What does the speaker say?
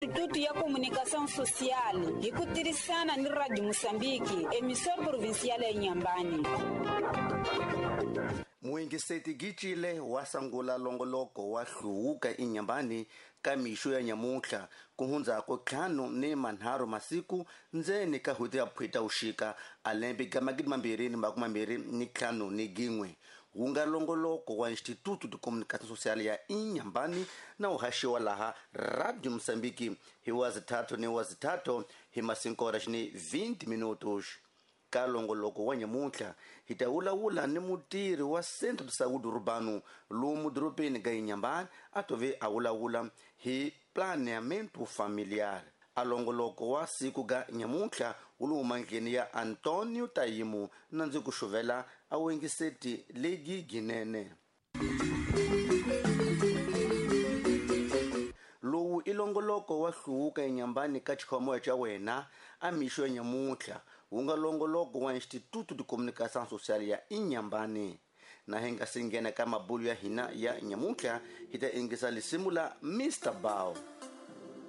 Instituto ya Comunicação Social hi ku tirhisana ni Radio Moçambique, emissora provincial ya Inhambane. Muingiseti Gicile wa sangula longoloko wa hluwuka inyambani ka mixo ya nyamuntlha ku hundzako 53 masiku ndzeni ka hweti ya phweta uxika a lembe ga 2021 wu nga longoloko wa Instituto de Comunicação Social ya Inhambane na wu haxiwa laha Radio Moçambique hi wa zithathu ni wa zithathu hi masinkora xini 20 minutos. Ka longoloko wa nyamuntlha hi ta vulavula ni mutirhi wa Centro de Saúde Urbano lomu dorobeni ga Inhambane a tove a vulavula hi planeamento familiar. A longoloko wa siku ga nyamuntlha wu le mandleni ya Antonio Tayimu na ndzi ku xuvela a wengiseti legi ginene. Lowu i longoloko wa hluwuka enyambani ka xikhomoya xa wena a mixo ya nyamuntlha wu nga longoloko wa Instituto de Comunicação Social ya Inhambane. Na hi nga si nghena ka mabulu ya hina ya nyamuntlha hi ta ingisa lisimu la Mr. Bao.